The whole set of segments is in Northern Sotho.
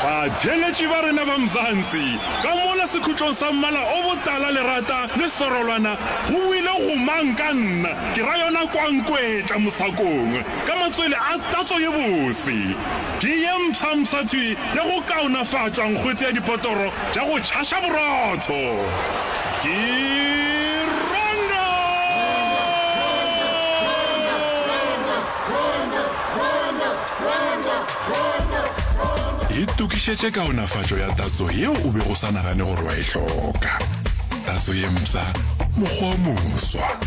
Batheeletši ba rena ba Mzansi, ka mola sekhutlong sa mmala o botala lerata le sorolwana go boile gomang ka nna, ke ra yona kwankwetla mosakong ka matswele a tatso ye bose. Ke ye mpshampsha thwi ya go kaonafatšwa nkgwete ya dipotoro tša go tšhaša borotho. Ke Rondo! Itokišetše kaonafatšo ya tatso yeo o bego o sa nagane gore wa e hloka. Tatso ye mpsha, mokgwa o moswa.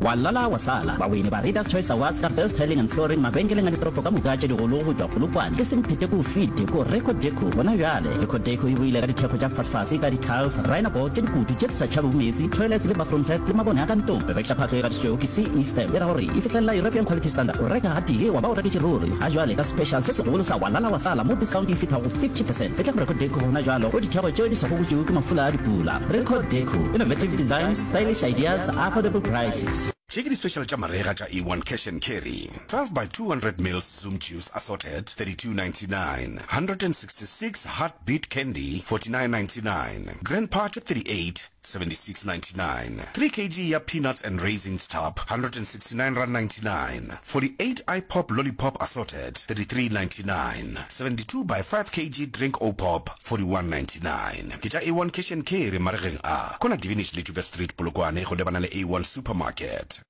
Wa lala wa sala. Bawini ba Readers Choice Awards ka Best Tiling and Flooring mabenkeleng a ditoropo ka moka tše digolo go tšwa Polokwane ke semphete ko fite ko Record Deco gona bjale. Record Deco e boile ka dithekgo tša fasefase ka di-tiles, rhino board tše dikutu tše di sa tšhabego meetse, toilets le bathroom set le mabone a ka ntlong. Rekiša phahlo e gatišitšwego ke CE Stamp e ra gore e fihlelela European Quality Standard. O reka gatee wa ba o reketše ruri. Ga jwale ka special se segolo sa wa lala wa sala mo discount e fihla go 50%. Etla go Record Deco gona jwalo go dithekgo tšeo di sa gobotšwego ke mafula a dipula. Record Deco, innovative designs, stylish ideas, affordable prices. Tše ke di-special tša marega tša A1 Cash and Carry, 12 by 200 mils Zoom Juice Assorted, 32.99, 166 Heartbeat Candy, 49.99, Grand Party 38, 76.99, 3 kg ya Peanuts and Raisins Tub, R169.99, 48 iPop Lollipop Assorted, 33.99, 72 by 5 kg Drink O-Pop, 41.99. Ke tša A1 Cash and Carry maregeng a, kona Divinish le Joubert Street, Polokwane, go lebana le A1 Supermarket.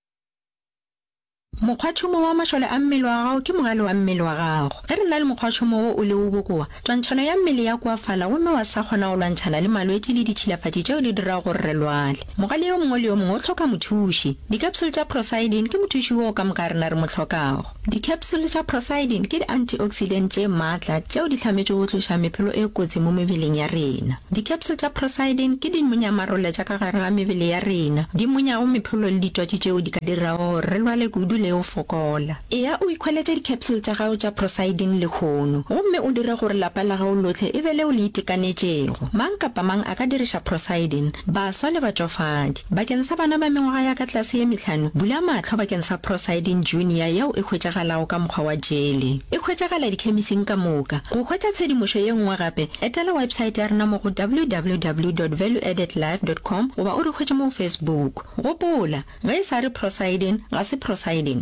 Mokgwatšhomo wa mašole a mmele wa gago ke mogale wa mmele wa gago. Ge re na le mokgwatšhomo wo o lego bokoa, twantšhano ya mmele ya koafala gomme wa sa kgona go lwantšhana le malwetši le ditšhilafatši tšeo di dirago gore re lwale. Mogale yo mongwe le yo mongwe o hloka mothuši. Dikapsule tša Procyldin ke mothuši woo ka moka rena re mo hlokago. Dikapsule tša Procyldin ke di-antioxidant tše matla tšeo di hlametšwego go tloša mephelo e kotsi mo mebeleng ya rena. Dikapsule tša Procyldin ke dimonyamarole tša ka gare ga mebele ya rena, di monyago mephelo le ditwatši tšeo di ka dirago gore re lwale kudu le go fokola. Eya o ikhweletše dikapsule tša gago tša Procyldin lehono gomme o dire gore lapa la gago lohle e be leo le itekanetšego. Mang kapa mang a ka diriša Procyldin, baswa le batšofadi. Bakeng sa bana ba mengwaga ya ka tlase ye mehlano, bula mahlo bakeng sa Procyldin Junior yeo e hwetšagalago ka mokgwa wa jele. E hwetšagala dikhemising ka moka. Go hwetša tshedimošo ye nngwe gape, etela websaete ya rena mo go www dot valueaddedlife dot com goba o re hwetše mo go Facebook. Gopola, ge e sa re Procyldin, ga se Procyldin.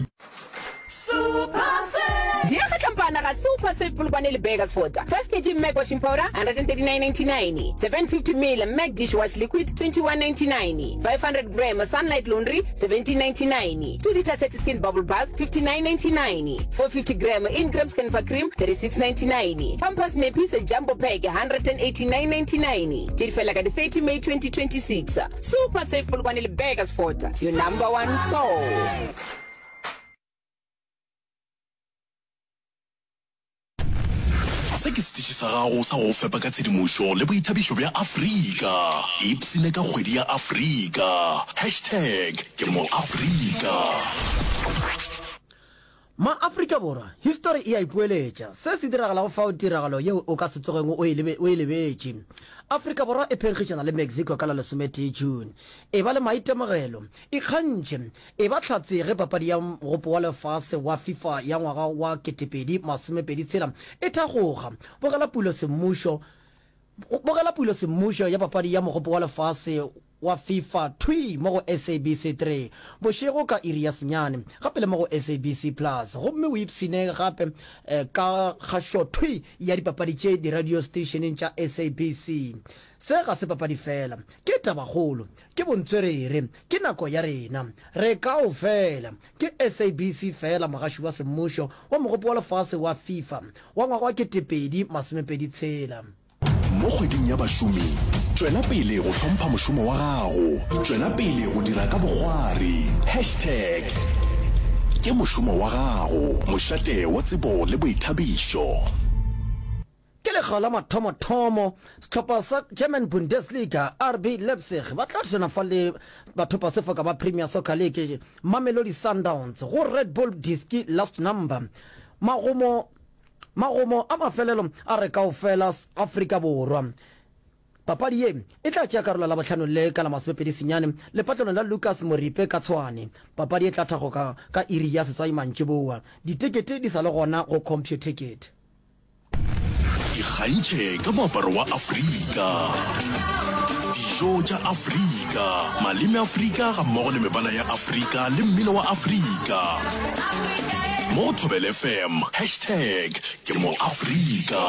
Diega tlampana ga Super Save Polokwane le Burgersfort. 5 kg Mac washing powder 139.99, 750 ml Mac dishwash liquid 21.99, 500 gram Sunlight laundry 17.99, 2 litre Satiskin bubble bath 59.99, 450 gram Ingram Scanfa cream 36.99, Pampers nappies jumbo pack 189.99. Tše di fela ka di 30 May 2026. Super Save Polokwane le Burgersfort, your number one store. Se ke setiši sa gago sa go go fepa ka tshedimošo le boithabišo bja Afrika. Ipshine ka kgwedi ya Afrika. Hashtag ke mo Afrika. Ma-Afrika Borwa, histori e a ipoeletša. Se se diragalago fao tiragalo yeo o ka se tsogego o e o e lebetše. Afrika Borwa e phenkgišana le Mexico ka la lesometee June. Eba le maitemogelo. Ikgantšhe. Eba hlatse ge papadi ya Mogopo wa Lefase wa FIFA ya ngwaga wa 2026 e thakgoga. Bogela pulo semmušo Bogela pulo semmušo ya papadi ya Mogopo wa Lefase wa FIFA thwi mo go SABC 3 bošego ka iri ya senyane, gape le mo go SABC Plus, gomme o ipshine gape ka kgašo thwi ya dipapadi tše diradio seteišeneng tša SABC. Se ga se papadi fela, ke tabakgolo, ke bontswerere, ke nako ya rena. Re kaofela. Ke SABC fela mogaši wa semmušo wa Mogopo wa Lefase wa FIFA wa ngwaga wa 2026. Mo kgweding ya bašomi, tšwela pele go hlompha mošomo wa gago. Tšwela pele go dira ka bokgwari. Hashtag Ke mošomo wa gago, mošate wa tsebo le boithabišo. Ke lekga la mathomothomo sehlopha sa German Bundesliga, RB Leipzig, ba tla thulana fa le bathopasefoka ba Premier Soccer League, Mamelodi Sundowns, go Red Bull Diski Last Number. Magomo Magomo a mafelelo a re kaofela Afrika Borwa. Papadi ye e tla tšea karolo Labohlano le ka la masomepedi senyane lepatlelong la Lucas Moripe ka Tshwane. Papadi e tla thakgoka ka iri ya seswai mantšiboa. Ditekete di sa le gona go Computicket. Ikgantšhe ka moaparo wa Afrika, dijo tša Afrika, maleme Afrika gammogo le mebala ya Afrika le mmino wa Afrika. Mo go Thobela FM, hashtag ke mo Afrika.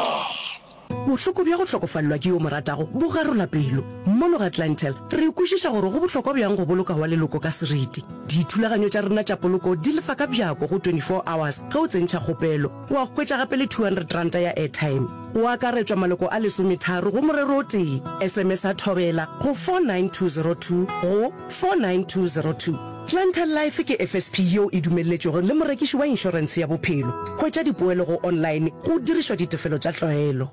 Bohloko bja go hlokofalelwa ke yo o mo ratago bo garola pelo. Mono ga Clientele, re kwešiša gore go bohlokwa bjang go boloka wa leloko ka seriti. Dithulaganyo tša rena tša poloko di lefa ka bjako go 24 hours ge o tsentšha kgopelo. Wa hwetša gape le R200 ya airtime. Go akaretšwa maloko a lesometharo go morero o tee. SMS-a Thobela go 49202 go 49202. Clientele Life ke FSP yeo e dumelletšwego le morekiši wa inšorentshe ya bophelo. Hwetša dipoelo go online go dirišwa ditefelo tša tlwaelo.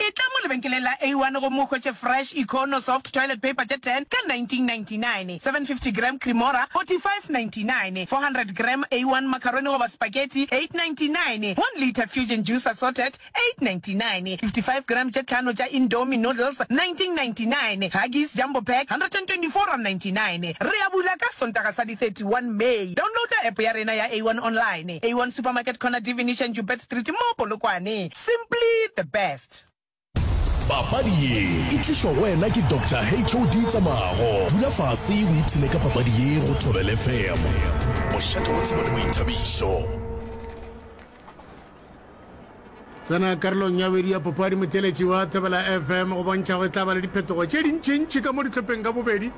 Etla mo lebenkeleng la A1 gomme o hwetše Fresh Econo Soft Toilet Paper tše 10 ka 1999, 750 gram Cremora 45.99, 400 gram A1 Macaroni goba Spaghetti 8.99, 1 litre Fusion Juice Assorted 8.99, 55 gram tše tlhano tša Indomie Noodles 1999, Huggies Jumbo Pack 124.99. Re a bula ka Sontaga sa di 31 May. Downloada app ya rena ya A1 Online. A1 Supermarket Corner D Venetian Joubert Street mo Polokwane. Simply the best. Papadi ye e tlišwa go wena ke Doctor HOD Tsamago. Dula fase o ipshine ka papadi ye go Thobela FM, mošate wa tsebo le boithabišo. Tsena karolong ya bobedi ya papadi motheeletši wa Thobela FM go bontšha go e tla ba le diphetogo tše dintšintši ka mo dihlopheng ka bobedi.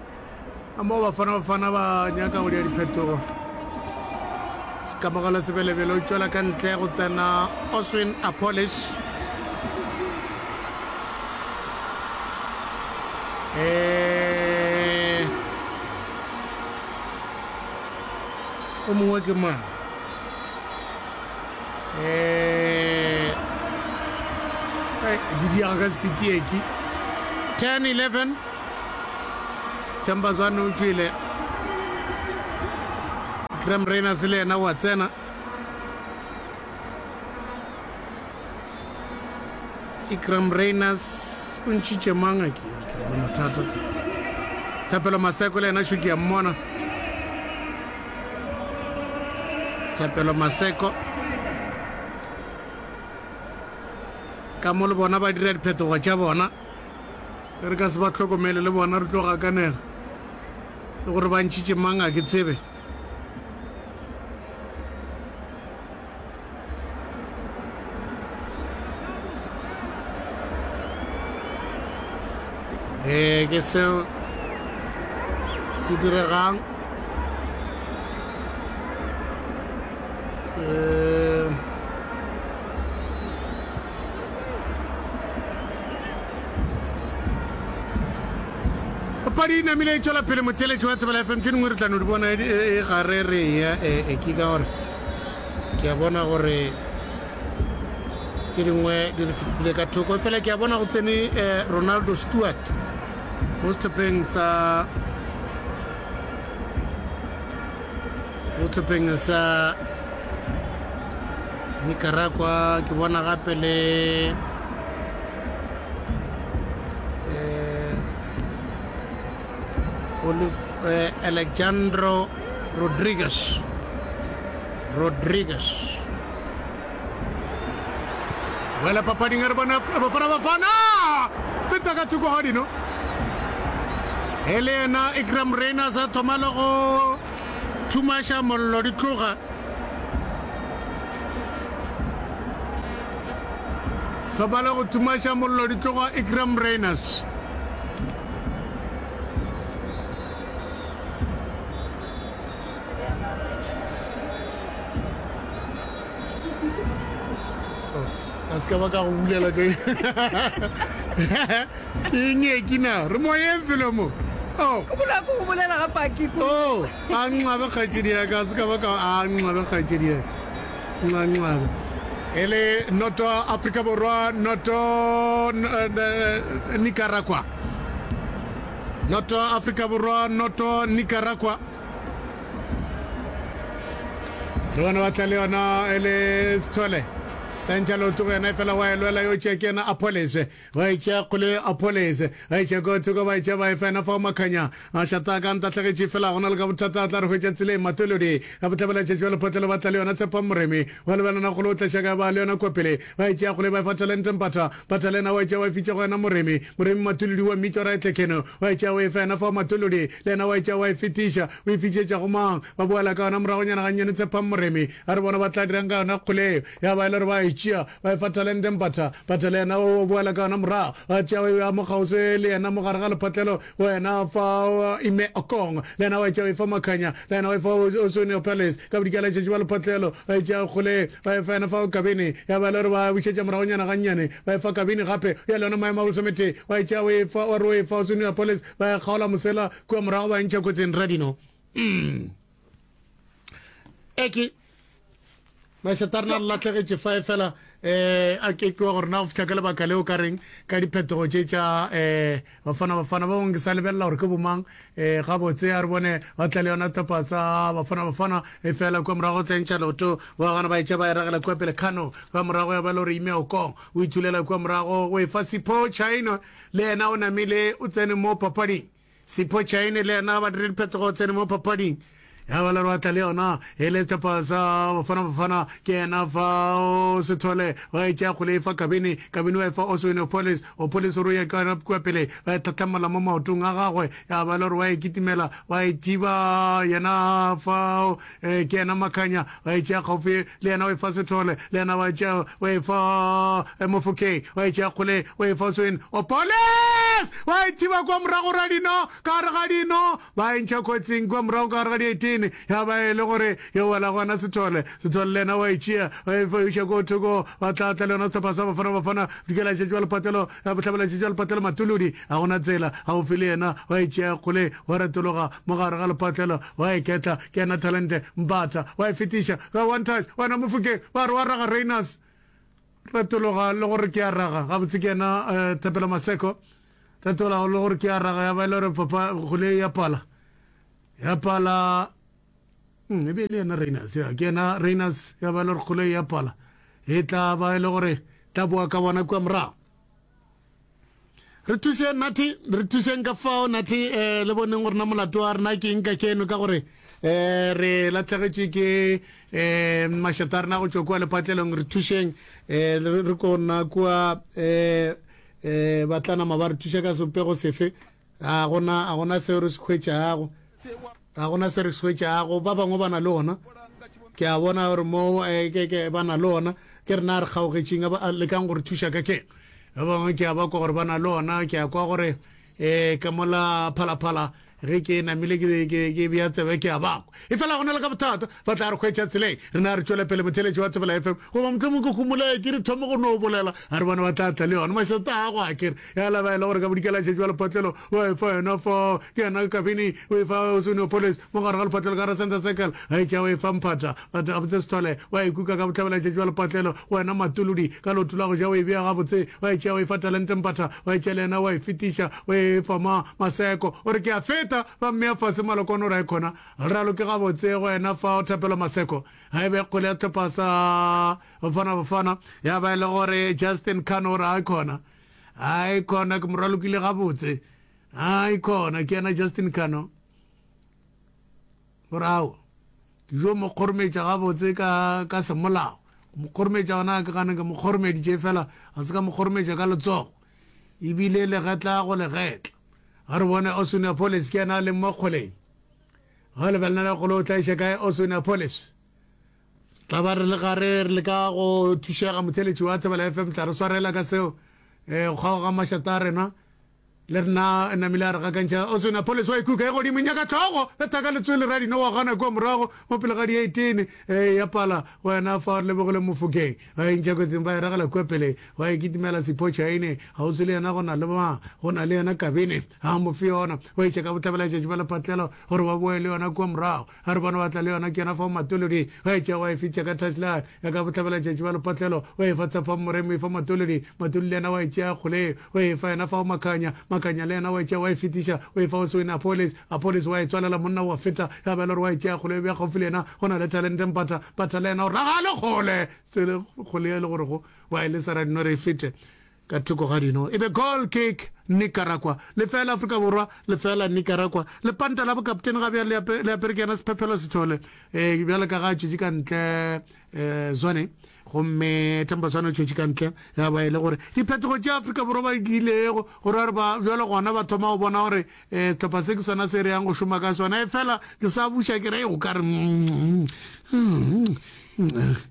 A moo Bafana Bafana ba nyaka go dira diphetogo. Kamogelo Sebelebele o tšwela ka ntle go tsena Oswin Appollis. Eh, o mongwe ke mang? Eh, di diega ka sepitieki 10 11 Themba Zwane o tšwele. Graham Rayners le yena wa tsena. Ikram Rayners o ntšhitše mang a ke tla mathata. Thapelo Maseko le yena šo ke a mmona. Thapelo Maseko ka mo le bona ba dira diphetogo tša bona. Ge re ka se ba hlokomele le bona re tlo gakanega. Le gore ba ntšhitše mang a ke tsebe. Ee, ke seo se diregang. Ee, Papadi e namile e tšwela pele motheeletši wa Thobela FM tše dingwe re tla no di bona e, e, e gare re ya e, e, ke ka gore ke a bona gore tše dingwe di re fetile ka thoko fela ke a bona go tsene eh, Ronaldo Stewart mo sehlopheng sa Mo hlopheng sa Nicaragua ke bona gape le eh, Olive, eh, Alejandro Rodriguez Rodriguez Wela papading re bona Bafana Bafana feta ka thoko ga dino e le yena Ikram Reyners a thoma le go thumaša mollo di tloga thoma le go thumaša mollo di tloga Ikram Reyners a se ka ba ka go bulela ke ke eng e ke na re moyeng felo mo Oh. Ko bola ko bolela ga paki ko. Oh, a nxabe kgaetšedi ya ka, se ka ba ka a nxabe kgaetšedi ya. Nxa nxabe. E le noto Afrika Borwa, noto Nicaragua. Noto Afrika Borwa, noto Nicaragua. Re bona ba tla le yona e le Sithole. Tsentšha leoto go yena efela wa e lwela yo tšea ke yena Appollis. Ba e tšea kgole Appollis. Ba e tšea ko thoko ba e tšea ba e fa yena fao Makhanya. Mašata a ka ntahlegetše efela go na le ka bothata a tla re hwetša tseleng. Matolodi ka bohlabela tšatši wa lephotlelo ba tla le yona Tshepang Moremi. Wa lebelana kgole o tla šaka ba le yona kua pele. Ba e tšea kgole ba e fa Talente Mpatha. Mpatha le yena wa e tšea wa e fitša go yena Moremi. Moremi Matolodi wa mmitša gore a etle kheno. Wa e tšea o e fa yena fao Matolodi le yena wa e tšea wa e fetiša. O e fitšetša go mang? Ba boela ka yona moragonyana gannyane Tshepang Moremi a re bona ba tla dirang ka yona kgole eo. Ya ba e le gore ba e tšea ba e fa Talente Mpatha. Mpatha le yena o boela ka yona morago. Ba tšea ba e bea mo kgauswi le yena mo gare ga lephatlelo go yena fa Ime Okong. Le yena wa e tšea o e fa Makhanya. Le yena wa e fa Oswin Palace. Ka bodikela letšatši ba lephatlelo ba e tšea kgole eo ba e fa yena fa Kabini. Ya ba e le gore ba bušetša moragonyana gannyane ba e fa Kabini gape. Ya le yona maemo a bolesometee wa e tšea o e fa wa re o e fa Oswin Palace ba e kgaola mosela kua morago ba e ntšha kotsing Radino. Mm. Eke mašata rena re latlhegetše fa fela um a ke ke wa gore na go fihla ka lebaka leo ka reng ka diphetogo tše tša um bafana bafana ba bangwe ke sa lebelela gore ke bomang um gabotse a re bone ba tla le yona tlhopha sa bafana bafana e fela kua morago tsentšha leoto ba gana ba etša ba e ragela kua pele kano kua morago ya ba le gore ime okong o ithulela kua morago o e fa sipho china le yena o namile o tsene mo papading Sipho Chaine le yena ba dire diphetogo tsene mo papading ya ba le tla le yona e le sehlopha sa Bafana Bafana ke yena fa o Sethole wa e tšea kgole e fa Kabini Kabini wa e fa Oswin Opolis Opolis o re ya ka kua pele ba e tlhatlhamola mo maotong a gagwe ya ba le gore wa e kitimela wa e thiba yena fa eh, ke yena Makhanya wa e tšea kgaufi le yena wa e fa Sethole le yena wa e tšea wa e fa eh, Mofokeng wa e tšea kgole wa e fa Oswin Opolis wa e thiba kwa morago ra dino ka gare ga dino ba e ntšha kotsing kwa morago ka gare ga dietene ya ba e le gore yo wela gona Sethole Sethole le yena wa e tšea wa e fa iša ko thoko ba tla tla le yona sehlopha sa Bafana Bafana dikela tšetši wa lepatlelo ya bohlabela tšetši wa lepatlelo Matolodi ga gona tsela gaufi le yena wa e tšea kgole wa retologa mo gare ga lepatlelo wa e ketla ke yena Talente Mbatha wa e fetiša ka one touch wena Mofokeng ba re wa raga Rayners retologa le gore ke a raga gabotse ke yena eh, Thapelo Maseko retologa le gore ke a raga ya ba e le gore papa kgole ya pala ya pala hmm, e be e le yena Rayners ya ke yena Rayners ya ba e le gore kgole ya pala e tla ba e le gore tla boa ka bona kua morago Re thušeng Nathi, re thušeng ka fao Nathi eh, le boneng gore na molato wa rena ke eng ka keno ka gore eh, re latlhegetše ke eh, mašata a rena go tšwa kua lepatlelong. Re thušeng eh, re re ko nna kua eh, eh, ba tla nama ba re thuša ka sebopego sefe. A gona a gona seo re se hwetšago. Ga gona se re se hwetšago. Ba bangwe ba na le ona. Ke a bona gore mo eh, ke, ke, ba na le ona. Ke rena re kgaogetšeng, ba lekang go re thuša ka keng. Ba bangwe ke a ba kwa gore ba na le ona. Ke a kwa gore eh, ka mola phalaphala ge ke namile ke, ke, ke bea tsebe ke a ba kwa. Efela go na le ka bothata, ba tla re hwetša tseleng. Rena re tšwele pele motheeletši wa Thobela FM. Goba mohlomong ke homole ke re thome go no bolela. A re bone ba tla tla le yona. Mašata a go a kere. Ya la ba e le gore ka bodikela tšatši wa lephatlelo wa e fa yena fa ke yena kabini o e fa Oswin Opolis mo gare ga lephatlelo ka ra center circle a e tšea o e fa Mphata batho gabotse Sethole wa e kuka ka bohlabela tšatši wa lepatlelo wena Matolodi ka leoto la go ja o e bea gabotse wa e tšea o e fa Talente Mpatha wa e tšea le yena wa e fetiša o e fa ma Maseko o re ke a feta ba mmea fase Malokwane o re a e khona raloke gabotse go yena fa Thapelo Maseko ga e be kgole ya tlhopha sa Bafana Bafana ya ba e le gore Justin Khan o re a e khona a e khona ke mo ralokile gabotse a e khona ke yena Justin Kano gore ao ke jo mo kgorometša gabotse ka ka semolao mo kgorometša gona ke gane ke mo kgoromeditše fela ga se ka mo kgorometša ka letsogo ebile legetla go legetla ga re bone Oswin Appollis ke yena a leng mo kgoleng ga lebelela le kgolo o tla iša kae Oswin Appollis Tla ba re le gare re leka go thušega motheeletši wa Thobela FM tla re swarela ka seo eh, go kgaoga mašata a rena le rena namile a re gakantšha Oswin Appollis wa ikuka e godimo nyaka tlhogo betha ka letswele ra dino wa gana kua morago mo pele ga di-18 eh, ya pala wena fa re lebogile Mofokeng ba e ntšha kotsing ba e ragela kua pele wa e kitimela Sipho Chaine gausi le yena go na le ma go na le yena Kabini a mo fe yona wa iša ka bohlabela tšatši ba lephatlelo gore ba boe le yona kua morago A re bona ba tla le yona, ke yona fao Matolodi wa e tšea wa e fetša ka touchline ya ka bohlabela tšatši ba lepatlelo wa e fa Tshepang Moremi, e fa Matolodi, Matolodi le yena wa e tšea kgole wa e fa yena fao Makhanya, Makhanya. Makhanya le yena wa e tšea wa e fetiša o e fa Oswin Appollis, Appollis wa e tswalela monna wa feta ya ba e le gore wa e tšea kgole e bea kgaufsi le yena go na le Talente Mpatha, Mpatha le yena o ragale kgole sele kgole e le gore go wa e lesa Radino re e fete ka thoko ga dino e be goal kick Nicaragua lefela Afrika Borwa lefela Nicaragua lepanta la bokaptene ga bjale le apere ke yena Sephephelo Sithole eh bjale ka ga a tšwetše ka ntle eh Zwane gomme Themba Zwane o tšwetše ka ntle ya ba e le gore diphetogo tše Afrika Borwa ba di ilego gore ba re ba bjale gona ba thoma go bona gore eh sehlopha se ke sona se re yang go šoma ka sona e fela ke sa buša ke re go ka re mm, mm, mm,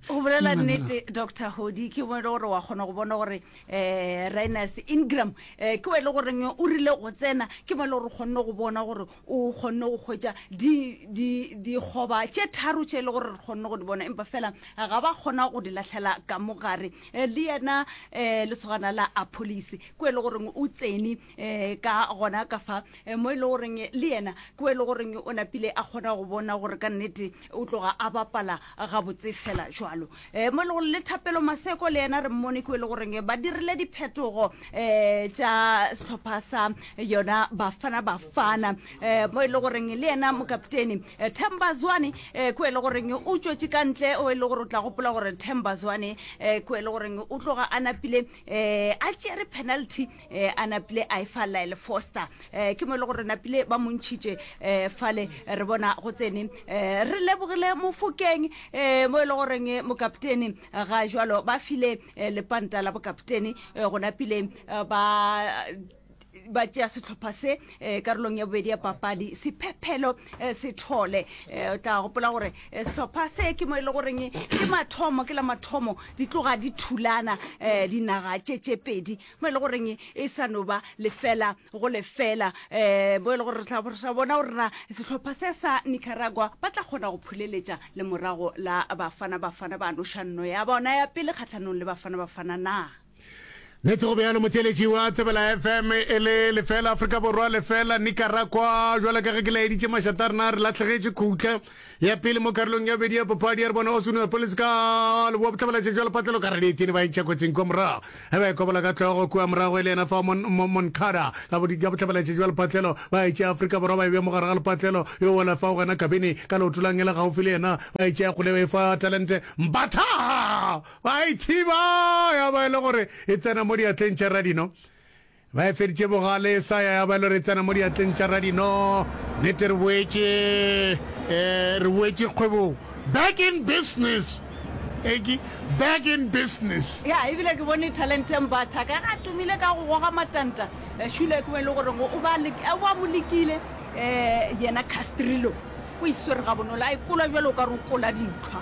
go bolela nnete dr hodi ke mo e le gore wa kgona go bona gore um rinus ingram um ke o e le goreng o rile go tsena ke mo e le gore o kgonne go bona gore o kgonne go kgwetsa dikgoba tše tharo tše e le gore re kgonne go di bona empa fela ga ba kgona go di latlhela ka mogare eh, le yena um lesogana la apolice ke o e le goreng o tsene um ka gona ka fa mo e le goreng le yena ke o e le goreng o napile a kgona go bona gore ka nnete o tloga a bapala gabotse fela jwalo. Um mo e le gore le Thapelo Maseko le yena re mmone ke o e le goreng ba dirile diphetogo um tša sehlopha sa yona Bafana Bafana um mo e le goreng le yena mokaptene Themba Zwane um ke o e le goreng o tšwetše ka ntle o e le gore o tla gopola gore Themba Zwane um ke o e le goreng o tloga a napile um a tšere penalty eh, a napile a e fa Lyle Foster eh, ke mo e le gore napile ba montšhitše eh, fale re bona go tsene eh, re lebogile mofokeng eh, mo e le goreng mokaptene ga jwalo ba file eh, lepanta la bokaptene eh, go napile eh, ba ba tšea sehlopha se eh, karolong ya bobedi ya papadi sephephelo eh, sethole eh, o tla gopola gore eh, sehlopha se ke mo e le goreng ke mathomo ke la mathomo di tloga di thulana eh, dinaga tše tše pedi mo e le goreng e sa no ba lefela go lefela um mo e le gore re tla bona gore na sehlopha se sa Nicaragua ba tla kgona go phuleletša le morago la Bafana Bafana ba noša nno ya bona ya pele kgahlanong le Bafana Bafana na. Nete go bjalo motheeletši wa Thobela FM e le lefela Afrika Borwa lefela Nicaragua jwalo ka ge ke laeditše mašata a rena re lahlegetše khutla ya pele mo karolong ya bobedi ya papadi ya re bona Oswin Police ka leboa bohlabela tšatši wa lepatlelo ka radietene ba intšha kotsing kua morago ge ba e kobola ka hlogo kua morago e le yena fa Moncada ka bohlabela tšatši wa lepatlelo ba e tšea Afrika Borwa ba e bea mo gare ga lepatlelo yo wela fao gona Kabini ka leoto la ngele gaufi le yena ba e tšea kgole ba e fa Talente Mbatha Ba e thiba ya ba e le gore e tsena mo diatleng tša Radino. Ba e feditše bogale e sa ya ya ba e le gore e tsena mo diatleng tša Radino. Nnete re boetše eh, re boetše kgwebong. Back in business. Eki, back in business. Ya, ebile ke bone Talente Mbatha ka ge a tumile ka go goga matanta. Eh, Shule ke mo e le goreng o ba o ba mo lekile eh, yena Castrillo. O e swere gabonolo, a e kola bjalo o ka re o kola dintlhwa.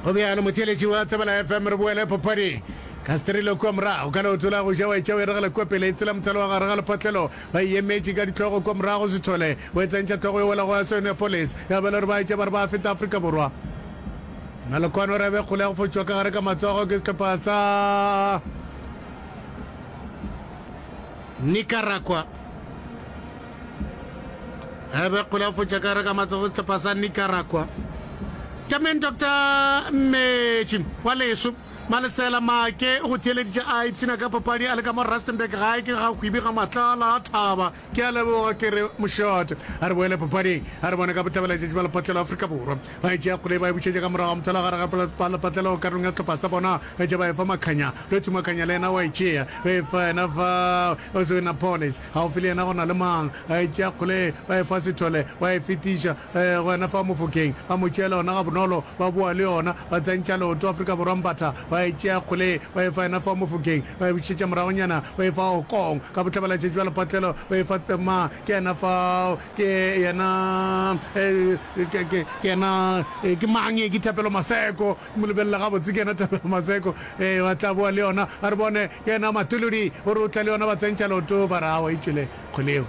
Go bjalo, motheeletši wa Thobela FM, re boele papading. Castrillo kua morago ka leoto la go ja wa e tšea o e regela kua pele, e tsela mothalo wa gare ga lepatlelo, ba e emetše ka dihlogo kua morago, Sithole o e tsentšha hlogo e wela go Asoneapolis, ya ba e le gore ba e tšea ba re ba feta Afrika Borwa. Nalokwane o re be kgole ya go fotšwa ka gare ka matsogo ke sehlopha sa Nicaragua. Ebe kgole ya go fotšwa ka gare ka matsogo ke sehlopha sa Nicaragua. Tameng Doctor Mmetši wa leso Malesela Maake o go theeleditše a ipshina ka papadi a le ka mo Rustenburg gae ke ga Hwibi ga Matlala a thaba. Ke a leboga ke re mošate. A re boele papading a re bone ka bohlabela letšatši ba lepatlelo Afrika Borwa ba e tšea kgole ba e bušetša ka morago ga mothalo gare ga lepatlelo karolong ya sehlopha sa bona ba etša ba e fa Makhanya Lwethu Makhanya le yena wa e tšea ba e fa yena fa Oswin Appollis gaufi le yena go na le mang ba e tšea kgole ba e fa Sithole wa e fetiša go yena fa Mofokeng ba mo tšeela yona gabonolo ba boa le yona ba tsentšha leoto Afrika Borwa Mbatha ba e tšea kgole ba e fa yena fa Mofokeng ba e bušetša moragonyana ba e fa Okong ka bohlabela-tšatši bja lepatlelo ba e fa ma ke yena fao ke yena ke yena ke mang ye ke Thapelo Maseko mo lebelela gabotse ke yena Thapelo Maseko ee ba tla boa le yona a re bone ke yena Matolodi o re o tla le yona ba tsentšha leoto ba re awa e tšwele kgoleo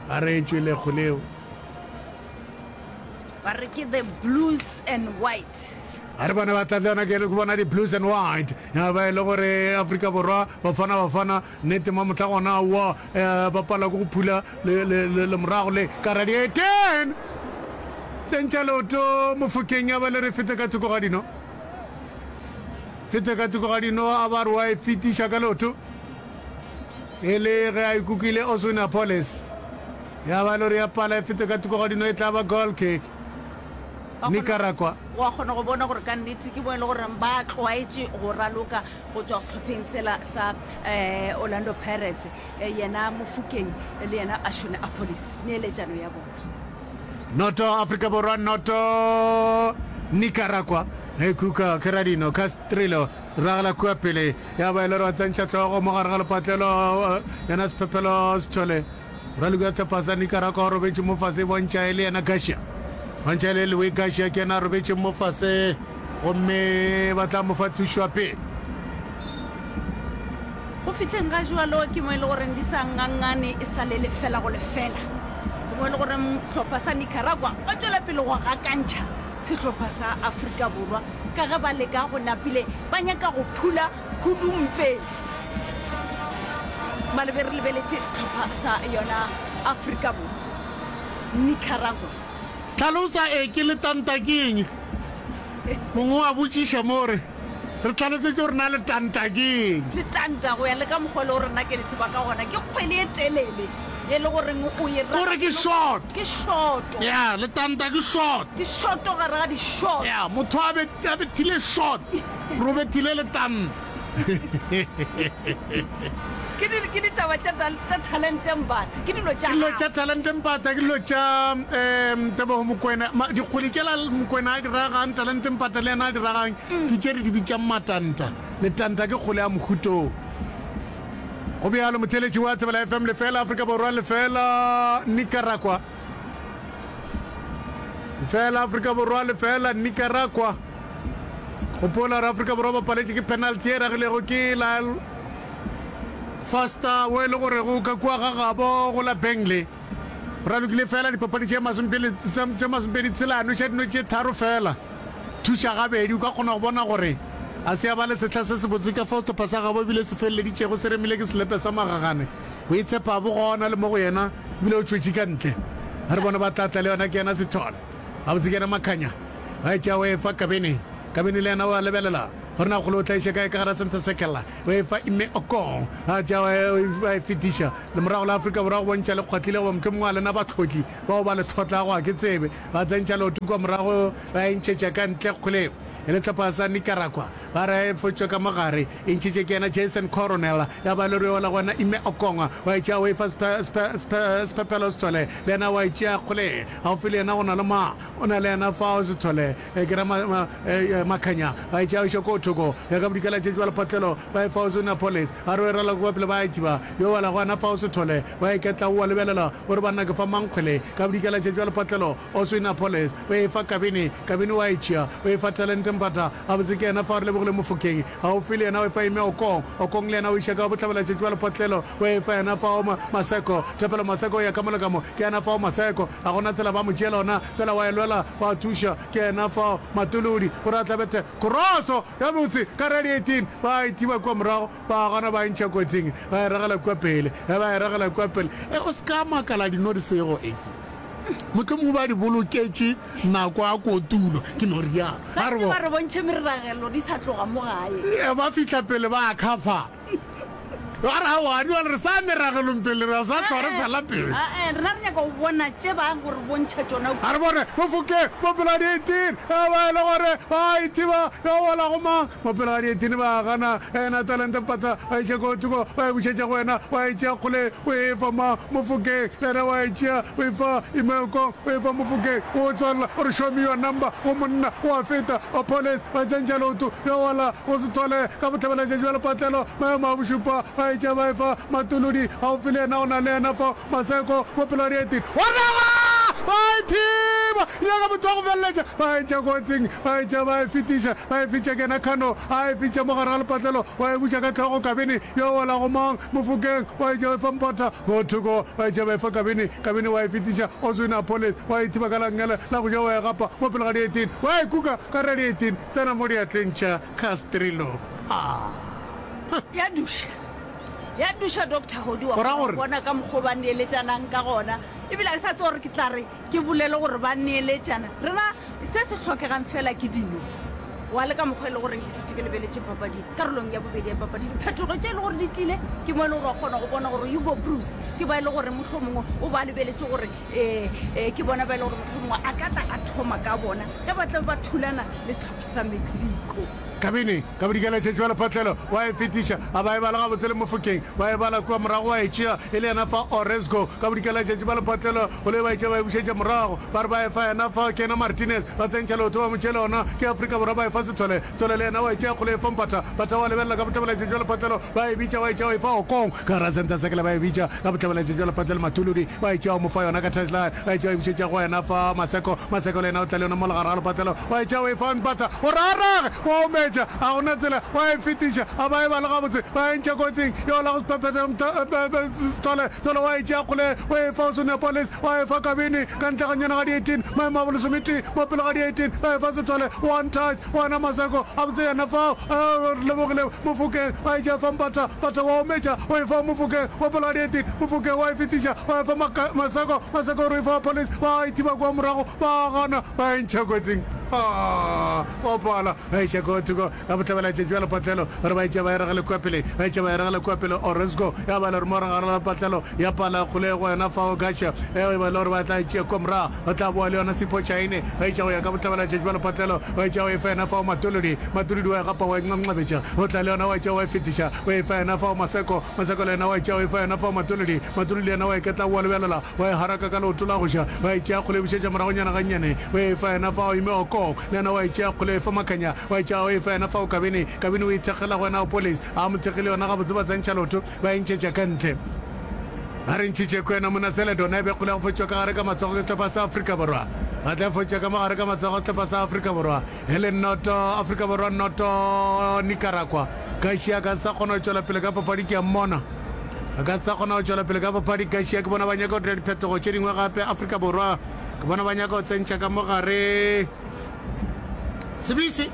a re e tšwele kgoleo Ba re ke the blues and white. A re bone ba tla le yona ke bona di-blues and white ya ba e le gore Afrika Borwa Bafana Bafana nnete mo mohla gona aowa um ba palwa ke go phula le morago le ka radiaten tsentšha leoto mofokeng ya ba le re fete ka thoko ga dino fete ka thoko ga dino a ba re wa e fetiša ka leoto. E le ge a ikukile Oswin Appollis. Ya ba lori ya pala e fete ka thoko ga dino e tla ba goal kick. Nicaragua. Wa kgona go bona gore ka nnete ke mo e le gore ba tlwaetše go raloka go tšwa sehlopheng sela sa um Orlando Pirates. Yena Mofokeng le yena Ashwin Appollis, neeletšano ya bona. Noto Afrika Borwa noto Nicaragua. Ekuka Keradino Castrillo ragela kua pele ya ba e le gore wa tsentšha hlogo mo gare ga lepatlelo yena Sephephelo Sithole. Raloki wa sehlopha sa Nicaragua o robetše mo fase e bontšha e le yena Garcia. Bontšha e le Luis Garcia ke yena a robetšeng mo fase gomme ba tla mo fa thušo ya pele. Go fihleng ga jwalo ke mo e le goreng di sa ngangane e sa le lefela go lefela. Ke mo e le goreng sehlopha sa Nicaragua ba tšwela pele go gakantšha sehlopha sa Afrika Borwa ka ge ba leka go napile ba nyaka go phula Khudumpeng. Malobe re lebeletše sehlopha sa yona Afrika Borwa, Nicaragua. Hlalosa e ke letanta ke eng? Mongwe wa botšiša mo re, re hlalosetše gore na letanta ke eng? Letanta go ya le ka mokgwa e le gore nna ke le tseba ka gona ke kgwele e telele e le goreng o e O re ke short. Ke shorto. Ya, letanta ke short. Ke shorto gare ga di-short. Ya, motho a be a bethile short. Robethile letanta. Ke di, ke ditaba tša, tša Talente Mbatha. Ke dilo tša Ke dilo tša Talente Mbatha, ke dilo tša um Tebogo Mokoena. Ma, dikgwele tšela Mokoena a di ragang, Talente Mbatha le yena a di ragang, ke tše re di bitšang matanta. Letanta ke kgole ya mohutong. Go bjalo, motheeletši wa Thobela FM, lefela Afrika Borwa, lefela Nicaragua. Lefela Afrika Borwa, lefela Nicaragua. Gopola gore Afrika Borwa ba paletše ke penalty e ragilego ke Lyle Foster wo e le gorego ka kua ga gabo go la Burnley. O ralokile fela dipapadi tše tše masomepedi tshela a noša dino tše tharo fela. Thuša gabedi o ka kgona go bona gore a se a ba le sehla se sebotse ka fao sehlopha sa gabo ebile se feleleditšego se remile ke selepe sa magagane. Go itshepa bo gona le mo go yena ebile o tšwetše ka ntle. Ga re bone ba tla tla le yona ke yena Sithole. Gabotse ke yena Makhanya. Ba e tšea o e fa Kabene. Kabene le yena o a lebelela gore na kgole o tla iša kae ka gara center circle. O e fa Ime Okong. Ba tšea ba e fetiša lemorago la Afrika Borwa go bontšha le kgwahlile goba mohlomongwe a lena bahlotli bao ba le hlotlago ga ke tsebe. Ba tsentšha leoto kua morago ba e ntšhetša ka ntle kgole e le hlopha sa Nicaragua. Ba re e fotšwe ka mo gare e ntšhitše ke yena Jason Coronel ya ba le re yola go wena Ime Okong wa e tšea o e fa Sphephelo Sithole le yena wa e tšea kgole gaufi le yena go na le ma o na le yena fao Sithole ke ra Makhanya ba e tšea o iša ko thoko ya ka bodikela tšetši wa lephatlelo ba e fa Oswin Appollis a re o e rala kua pele ba e thiba yo wela go wena fao Sithole wa e ketla o a lebelela o re banna ke fa mang kgwele ka bodikela tšetši wa lephatlelo Oswin Appollis o e fa Kabini Kabini wa e tšea o e fa Talente Mpatha gabotse ke yena fao re lebogile Mofokeng gaufi le yena o e fa Ime Okong Okong le yena o iša ka bohlabela tšetši wa lephatlelo o e fa yena fao Maseko Thapelo Maseko o ya ka mo le ka mo ke yena fao Maseko ga gona tsela ba mo tšeela ona fela wa e lwela wa thuša ke yena fao Matolodi gore a tlabethe kroso ya botse ka radi 18 ba e thiba kua morago ba gana ba e ntšha kotsing ba e ragela kua pele ba e ragela kua pele e o se ka makala dino di sego eke mohlomongwe ba di boloketše nako ya kotulo ke no rialo ba re bontšhe meragelo di sa tloga mo gae ba fihla pele ba khapha Ba re, Aowa, bjale re sa ya meragelong pele, re sa hlwa re fela pele. Ae, rena re nyaka go bona tše ba go re bontšha tšona kua. A re bone, Mofokeng, mo pele ga dietini, ge ba e le gore ba a ithiba, yo wela go mang? Mo pele ga dietini ba gana, Ena talente mpatha, ba iša ko thoko, ba e bušetša go wena, wa e tšea kgole, o e fa mang? Mofokeng, le yena wa e tšea, o e fa Imeokong, o e fa Mofokeng, o tswalela, o re show me your number, go monna, o a feta, wa police, ba tsentšha leoto, yo wela go Sethole, ka bohlabela tšatši bja lepatlelo, maemo a bošupa, ba etša ba efa Matolodi, gaufi le yena o na le yena fao, Maseko, Bophelwadieteng, wa raga! Ba e thiba, nyaka motho wa go feleletša, ba e ntšha kotsing, ba etša ba e fetiša, ba e fetša ke yena Khano, a e fetša mo gare ga lepatlelo, wa e buša ka hlogo Kabini, yo wela go mang, Mofokeng, wa etša wa efa Mpotha, mo thoko, wa etša ba efa Kabini, Kabini wa e fetiša, Oswin Appollis, wa e thiba ka la nngele la go ja wa e gapa, mo pele ga dieteng, wa e kuka ka radieteng, tsena mo diatleng tša Castrillo. Ah. Ya duša. Ya duša Doctor Hodi wa Go ra gore? bona ka mokgwa o ba neeletšanang ka gona. Ebile ga ke sa tseba gore ke tla re ke bolele gore ba neeletšana. Rena se se hlokegang fela ke dino. Wa le ka mokgwa e le goreng ke šetše ke lebeletše papadi karolong ya bobedi ya papadi, diphetogo tše e le gore di tlile, ke mo e le gore wa kgona go bona gore Hugo Broos ke ba e le gore mohlomongwe o ba lebeletše gore um ke bona ba e le gore mohlomongwe a ka tla a thoma ka bona ge ba tla be ba thulana le sehlopha sa Mexico. Kabini ka bodikela tšhetše wa lephatlelo wa e fetiša, a ba e bala gabotse le Mofokeng wa e bala kua morago wa e tšea e le yena fa Orozco ka bodikela tšatši ba lephatlelo go le ba e tšea ba e bušetša morago ba re ba e fa yena fa ke yena Martinez ba tsentšha leoto ba mo tšea le ona ke Afrika Borwa ba e fa Sethole Thole le yena wa e tšea kgole e fa Mpatha Mpatha wa lebelela ka bohlabela tšatši ba lephatlelo ba e bitša wa e tšea wa e fa Okong ka gara center circle ba e bitša ka bohlabela tšatši ba lephatlelo Mathuludi wa e tšea o mo fa yona ka touchline ba e tšea wa e bušetša go yena fa Maseko Maseko le yena o tla le yona mo legare ga lephatlelo wa e tšea wa e fa Mpatha o rarage wa ometša a gona tsela wa e fetiša a ba e bale gabotse ba e ntšha kotsing yo la go sephephetha Sethole Thole wa e tšea kgole o e fa Osunepolis wa e fa Kabini ka ntle ga nyana ga di 18 maemo a bolesometee mo pele ga di 18 ba e fa Sethole one touch wena Maseko a botse yena fao re lebogile Mofokeng wa e tšea fa Mpatha Mpatha wa ometša o e fa Mofokeng mo pele ga di 18 Mofokeng wa e fetiša wa e fa Maseko Maseko o re o e fa Police ba e thiba kua morago ba gana ba e ntšha kotsing wa pala ba iša ko thoko ka bohlabela tšatši bja lepatlelo gore ba etša ba e ragele kua pele ba etša ba e ragele kua pele Orozco ya ba le gore mo gare ga lepatlelo ya pala kgolego yona fao Gacha e ba le gore ba tla e tšea kua morago ba tla boa le yona Sipho Chaine ba etša go ya ka bohlabela tšatši bja lepatlelo ba etša go e fa yena fao Matolodi Matolodi wa e gapa wa e nqanqabetša o tla le yona wa etša wa e fetiša o e fa yena fao Maseko Maseko le yena wa etša o e fa yena fao Matolodi Matolodi le yena wa e ketla wa lebelela wa e haraka ka leoto la go ja wa e tšea kgole e bušetša moragonyana gannyane o e fa yena fao Ime Okok le yena wa e tšea kgole e fa Makhanya wa e tšea o e fa yena fao Kabini Kabini o e thekgela go yena Opolis a mo thekgile yona gabotse ba tsentšha leoto ba e ntšhetša ka ntle ba re ntšhitše kwena mona Celedon e be kgole ya go fotšwa ka gare ka matsogo ke sehlopha sa Afrika Borwa ba tla fotšwa ka mo gare ka matsogo sehlopha sa Afrika Borwa e le noto Afrika Borwa noto Nicaragua Garcia ka sa kgona go tšwela pele ka papadi ke a mmona a ka sa kgona go tšwela pele ka papadi Garcia ke bona ba nyaka go dira diphetogo tše dingwe gape Afrika Borwa ke bona ba nyaka go tsentšha ka mo gare Sebisi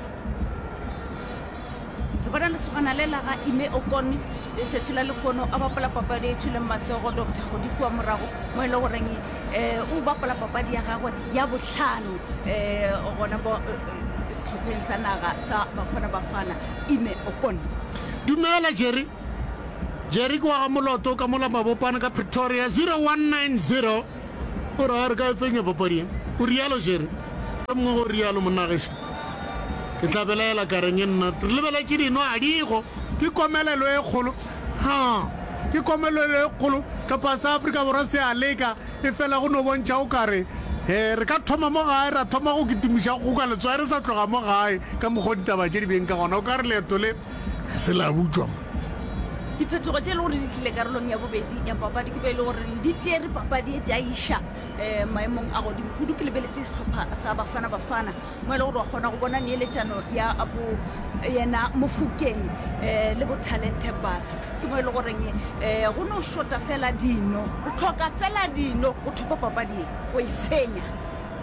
Ke bona lesogana le la ga Ime Okon letšatši la lehono a bapala papadi e tšwileng matsogo Doctor Hodi kua morago mo e le goreng um o bapala papadi ya gagwe ya bohlano um gona mo eh, sehlopheng sa naga sa Bafana Bafana Ime Okon. Dumela Jerry. Jerry ke wa ga Moloto ka mola Mabopane ka Pretoria 0190. O re a re ka e fenya papadi ye. O rialo Jerry. O mongwe go rialo monna gešo. Ke tla belaela ka reng nna. Re lebeletše dino a digo. Ke komelelo e kgolo. Ha. Ke komelelo e kgolo. Hlopha sa Afrika Borwa se a leka efela go no bontšha o kare he re ka thoma mo gae ra thoma go kitimiša go ka letswai re sa tloga mo gae ka mokgwa ditaba tše di beng ka gona o ka re leeto le ga se la butšwa mo. Diphetogo tše e le gore di tlile karolong ya bobedi ya papadi ke be e le gore di tšere papadi e tša iša um maemong a godimo kudu. Ke lebeletše sehlopha sa Bafana Bafana mo e le gore wa kgona go bona neeletšano ya bo yena Mofokeng um le bo Talente Mbatha. Ke mo e le goreng um go no šota fela dino, re tlhoka fela dino go thopa papadi e, go e fenya.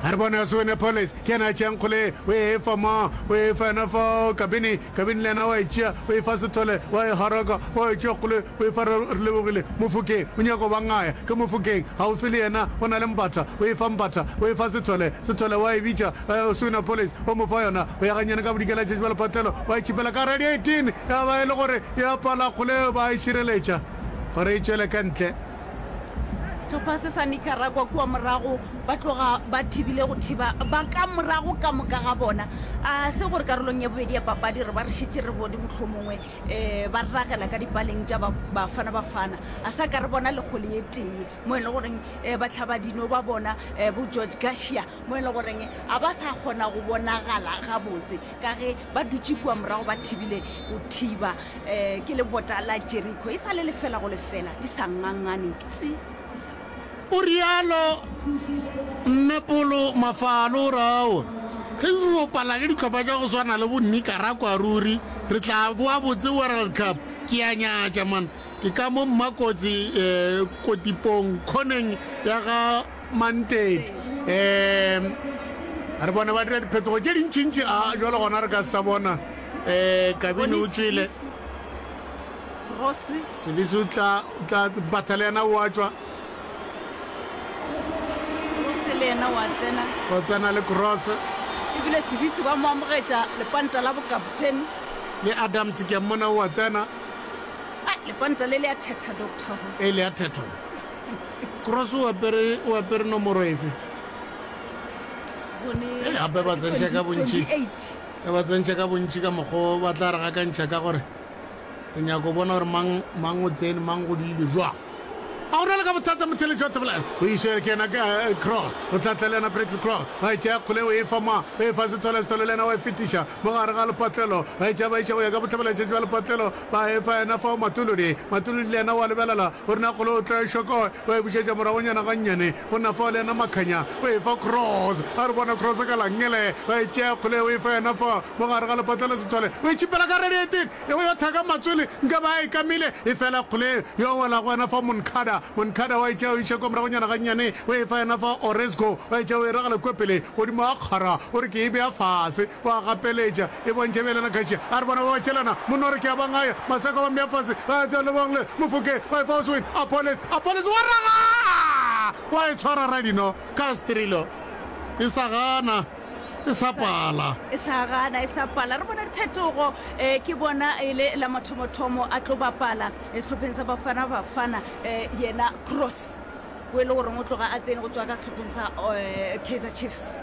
A re bone Oswin Appollis ke yena a tšeang kgole o e fa ma o e fa yena fa Kabini Kabini le yena wa e tšea o e fa Sethole wa e haraka wa e tšea kgole o e fa Re Lebogile Mofokeng o nyaka go ba ngaya ke Mofokeng gaufi le yena o na le Mbatha o e fa Mbatha o e fa Sethole Sethole wa e bitša Oswin Appollis o mo fa yona o ya gannyane ka bodikela tšatši ba lepatlelo wa e tšhipela ka gare ya di 18 ya ba e le gore ya pala kgole ba e šireletša gore e tšwele ka ntle. Sehlopha se sa Nicaragua kua morago ba tloga ba thibile go thiba ba ka morago ka moka ga bona. A se gore karolong ya bobedi ya papadi re ba re šetše re bone mohlomongwe um ba ragela ka dipaleng tša Bafana Bafana. A sa ka re bona le kgole ye tee mo e le goreng um bahlabadino ba bona um bo George Garcia mo e le goreng a ba sa kgona go bonagala gabotse ka ge ba dutše kua morago ba thibile go thiba um ke lebota la Jeriko e sa le lefela go lefela di sa ngangane tsi. O realo Mme Polo Mafalo o re aowa, ge re bopala ke dihlopha tša go swana le bo Nicaragua ruri re tla boa botse World Cup. Ke a nyatša man. Ke ka mo Mmakotsi um Kotipong khoneng ya ga Mantedi. Um re bone ba dira diphetogo tše dintšintši a jalo gona re ka se sa bona um Kabini o tšwele. Sebisi o tla o tla Mpatha le yena o a tšwa. Cross le yena wa tsena. O tsena le Cross. Ebile Sibisi ba mo amogetša lepanta la bokaptene. Le Adams ke a mmona o a tsena. Ai, lepanta le le a thetha, Doctor Ho. E le a thetha. Cross o apere, o apere nomoro efe? Bone. Ee, gape ba tsentšha ka bontši. 28. E ba tsentšha ka bontši ka mokgwa ba tla re gakantšha ka gore re nyaka go bona gore mang, mang o tsene, mang go diilwe jwang. A o rwale ka bothata motheletši wa Thobela o iše ke yena eh, Cross o tla tla le yena Bradley Cross ba e tšea kgole o e fa ma o e fa Sethole Sethole le yena wa e fetiša mo gare ga lepatlelo ba e tšea ba iša go ya ka bohlabela-tšatši ba lepatlelo ba e fa yena fao Matolodi Matolodi le yena wa lebelela o rena kgole o tla e šokoe wa e bušetša moragonyana gannyane go nna fao le yena Makhanya o e fa Cross a re bona Cross ka langele ba e tšea kgole o e fa yena fa mo gare ga lepatlelo Sethole o e tšhipela ka radiating E go yo thaka matswele nka ba a e kamile, efela kgole yo wela go wena fa Moncada. Moncada wa e tšea o iša kwa moragonyana gannyane, o e fa yena fa Orezco, wa e tšea o e ragela kua pele godimo ga kgara, o re ke e bea fase, wa gapeletša, e bontšha bjale na Kasia, a re bona ba ba tšelana, monna o re ke a ba ngaya, Maseko ba mmea fase, ba tla Lebogle, Mofokeng, wa e fa Oswin, Appollis, Appollis wa raga! Wa e tshwara Radino, Castrillo, e sa gana. E sa pala. E sa gana, e sa pala. Re bona diphetogo. Eh, ke bona e le la mathomothomo a tlo bapala eh, sehlopheng sa Bafana Bafana eh, yena Cross o e le goreng o tloga a tsene go tšwa ka sehlopheng sa eh, Kaizer Chiefs.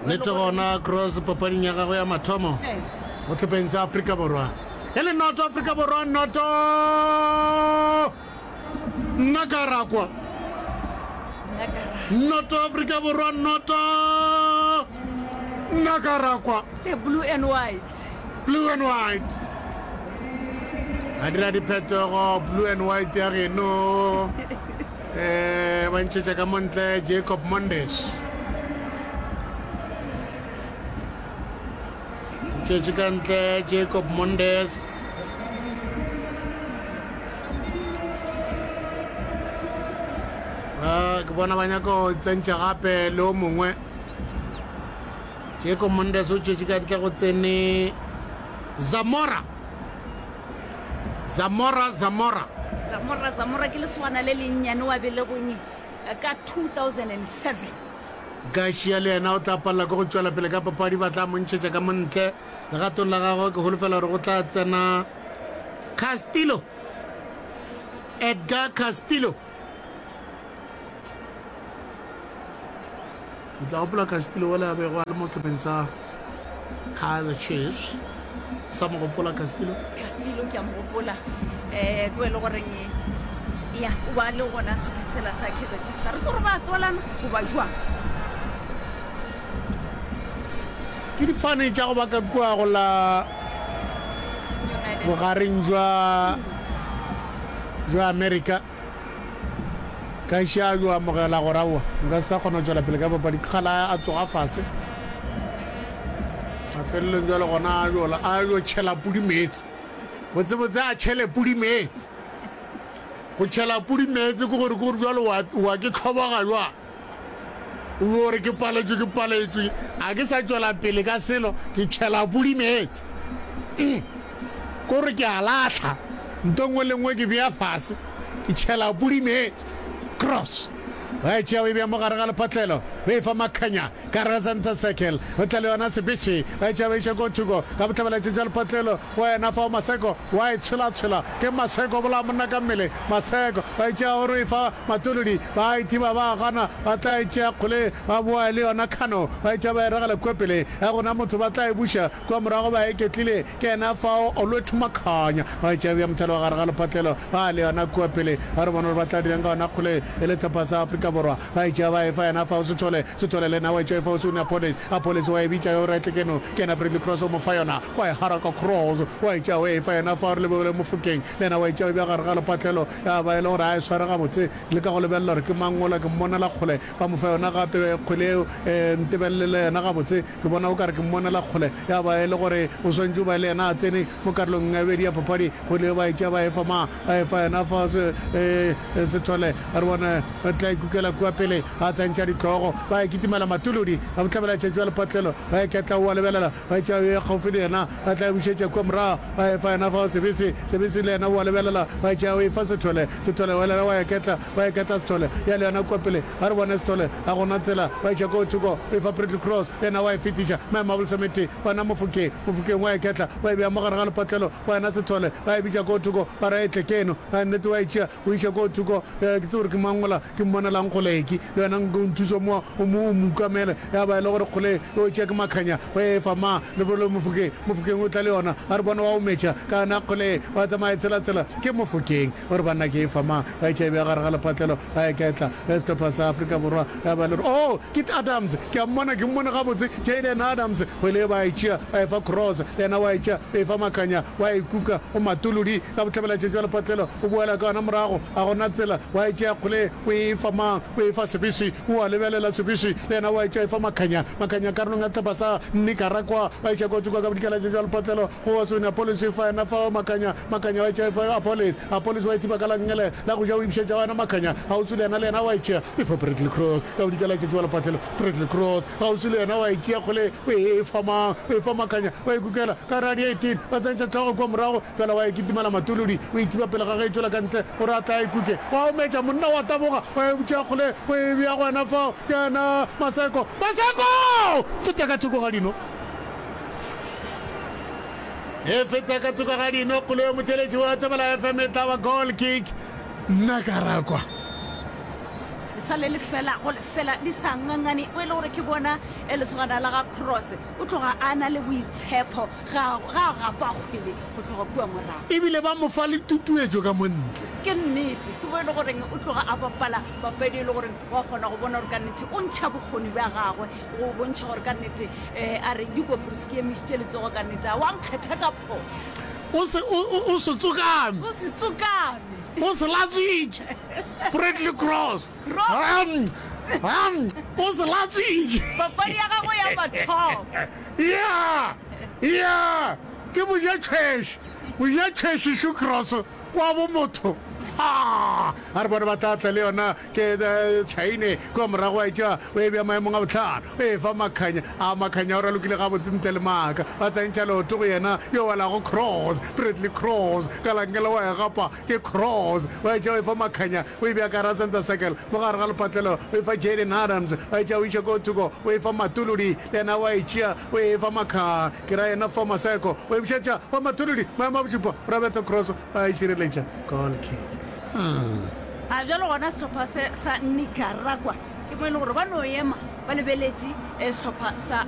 Nnete gona Cross papading ya gagwe ya mathomo Eh. mo hlopheng sa Afrika Borwa. E le noto Afrika Borwa noto. Nna ka rakwa. Noto Afrika Borwa noto. Nna ka rakwa. The blue and white. Blue and white. A dira diphetogo blue and white ya geno. Eh ba ntšhetša ka montle Jacob Mondes. Tšwetše ka ntle Jacob Mondes. Ah, ke bona ba nyaka go tsentšha gape le o mongwe. Jacob Mondes o tšwetše ka ntle go tsene Zamora. Zamora, Zamora. Zamora, Zamora ke lesogana le lennyane wa belegweng ka 2007. Garcia le yena o tla palela ke go tšwela pele ka papadi, ba tla mo ntšhetša ka mo ntle. Legatong la gagwe ke holofela gore go tla tsena Castillo, Edgar Castillo. O tla gopola Castillo wela a bego a le mo sehlopheng sa Kaizer Chiefs. Sa mo gopola Castillo? Castillo ke a mo gopola. Eh ke le goreng ya o ba le gona sehlopheng sela sa Kaizer Chiefs. Re tsore ba tswalana goba jwang? Ke difane tša go ba ka kua go la bogareng jwa jwa America. Ka iše a yo amogela gore aowa nka se sa kgona go tšwela pele ka papadi. Ke kgale a tsoga fase. Mafelelong jwale gona a yo a yo tšhela pudi meetse. Botsebotse a tšhele pudi meetse. Go tšhela pudi meetse ke gore ke gore jwale wa wa ke tlhoboga jwang. O yo re ke paletšwe ke paletšwe a ke sa tšwela pele ka selo ke tšhela pudi meetse. Mm. Ko re ke a lahla nto nngwe le nngwe ke bea fase ke tšhela pudi meetse. Cross. Ba e tšea ba e bea mo gare ga lephatlelo ba e fa Makhanya ka gare ga center circle o tla le yona Sebetše ba e tšea ba iša ko thoko ka bohlabelatšatši bja lephatlelo go yena fao Maseko wa e tshwelatshwela ke Maseko bolaya monna ka mmele Maseko ba e tšea o re e fa Matolodi ba e thiba ba gana ba tla e tšea kgole ba boa le yona Khano ba e tšea ba e ragela kua pele ya gona motho ba tla e buša Kua morago ba iketlile, ke yena fao Olwethu Makhanya wa e tšea mothalo wa gare ga lephatlelo ba le yona kua pele. Ba re bona gore ba tla dirang ka yona kgole e le hlopha sa Afrika Borwa. Ba e tšea ba e fa yena fao Sithole, Sithole le yena wa e tšea e fa Oswin Appollis, Appollis wa e bitša yo re tle keno, ke yena Bradley Cross o mo fa yona, wa e haraka Cross wa e tšea o e fa yena fao re lebogile Mofokeng le yena wa e tšea o e bea gare ga lephatlelo ya ba e le gore a e sware gabotse le ka go lebelela gore ke mang ola ke mmonela kgole ba mo fa yona gape kgwele eo ntebelele yona gabotse. Ke bona o ka re ke mmonela kgole, ya ba e le gore o swanetše o ba le yena a tsene mo karolong ya bobedi ya papadi. Kgwele eo ba e tšea ba e fa ma, ba e fa yena fa se, e, Sethole. A re bone re tla ikuka. kukela kua pele, ba tsentšha dihlogo, ba e kitimela Matuludi, ba bohlabela tšhetšo ya lepatlelo, ba e ketla, o a lebelela, ba e tšea yo ya kgaufsi le yena, ba tla e bušetša kua morago, ba e fa yena fao Sebese, Sebese le yena o a lebelela, ba e tšea o e fa Sethole, Sethole o elela wa e ketla, ba e ketla Sethole, ya le yona kua pele, a re bone Sethole, ga go na tsela, ba iša koo thoko, o e fa Bradley Cross, le yena wa e fetiša, maemo a bolesometee, wena Mofokeng, Mofokeng wa e ketla, wa e bea mo gare ga lepatlelo, wena Sethole, ba e bitša koo thoko, ba re a e tle keno, a nnete wa e tšea, o iša koo thoko, ke tsebe gore ke mang mola ke mmonelang kgoleki, le wena nko o nthuše mo, o mo, o mo ukamele, ya ba e le gore kgole e o tšea ke Makhanya, wa e fa ma, Lebolo Mofokeng, Mofokeng o tla le yona, a re bona wa ometša, ka yona kgole, wa tsamaya e tsela-tsela, ke Mofokeng, o re banna ke e fa ma, ba e tšea e bea gare ga lepatlelo, ba e ketla, ge sehlopha sa Afrika Borwa, ya ba e le gore, oh, ke Adams, ke a mmona, ke mmone gabotse, Jayden Adams, kgwele e ba e tšea, ba e fa Cross, le yena wa e tšea, o e fa Makhanya, wa e kuka, o Matolodi, ka bohlabelatšatši bja lepatlelo, o boela ka yona morago, ga go na tsela, wa e tšea kgwele, o e fa mang, o e fa Sebisi, o a lebelela Sebisi, le yena wa e tšea, e fa Makhanya, Makhanya karolong ya sehlopha sa Nicaragua, ba iša kotsi kua ka bodikelatšatši bja lepatlelo, go wa Sonia Appollis, e fa yena fao Makhanya, Makhanya wa e tšea, e fa Appollis, Appollis wa e thiba ka la nngele la go ja, o e bušetša go yena Makhanya, kgauswi le yena, le yena wa e tšea, e fa Bradley Cross, ka bodikelatšatši bja lepatlelo, Bradley Cross, kgauswi le yena wa e tšea kgole, o e fa mang, o e fa Makhanya, wa e kukela ka gare ga di-18, ba tsentšha hlogo kua morago, fela wa e kitimela Matolodi, o e thiba pele ga ge e tšwela ka ntle, gore a tle a e kuke, wa ometša, monna wa taboga, wa e tšea kgole, o e bea go yena fao, ke yena Maseko, Maseko! Feta ka thoko ga dino. E feta ka thoko ga dino, kgole yo motheletši wa Thobela FM e tla ba goal kick. Nna ka rakwa. Le sa le lefela go lefela di sa ngangane o e le gore ke bona e lesogana la ga Cross o tloga a na le boitshepo ga ga a gapa kgwele go tloga kua morago. Ebile ba mo fa le tutuetšo ka mo ntle. Ke nnete, ke mo e le goreng o tloga a bapala papadi e le goreng wa kgona go bona gore ka nnete o ntšha bokgoni bja gagwe go bontšha gore ka nnete um a re Hugo Broos ke emišitše letsogo ka nnete a wa nkgetha ka phošo. O se, o, o, o se tsokame. O se tsokame. O se latswitše. Bradley Cross. Hum, hum, o se latswitše. Papadi ya gagwe ya mathomo. Ya, ya, ke moja-tšhweše, moja-tšhweše šo Cross wa bo motho. Ha, a re bone ba tla tla le yona ke eh, Chaine kua morago wa etša o e bea maemong a bohlano o e fa Makhanya a Makhanya o ralokile gabotse ntle le maaka ba tsentšha leoto go yena yo welago Cross Bradley Cross ka lankela wa e gapa Ke Cross, wa etša o efa Makhanya, o e bea ka gara center circle, mo gare ga lepatlelo, o efa Jayden Adams, wa etša o iša ko thoko, o efa Matuludi, le yena wa e tšea, o e efa Makha, ke ra yena fa Maseko, o e bušetša go Matuludi, maemo a bošupa, Roberto Cross wa e šireletša, goal kick. Hmm. A bjalo gona sehlopha se sa Nicaragua ke mo e le gore ba no ema ba lebeletše eh, sehlopha sa.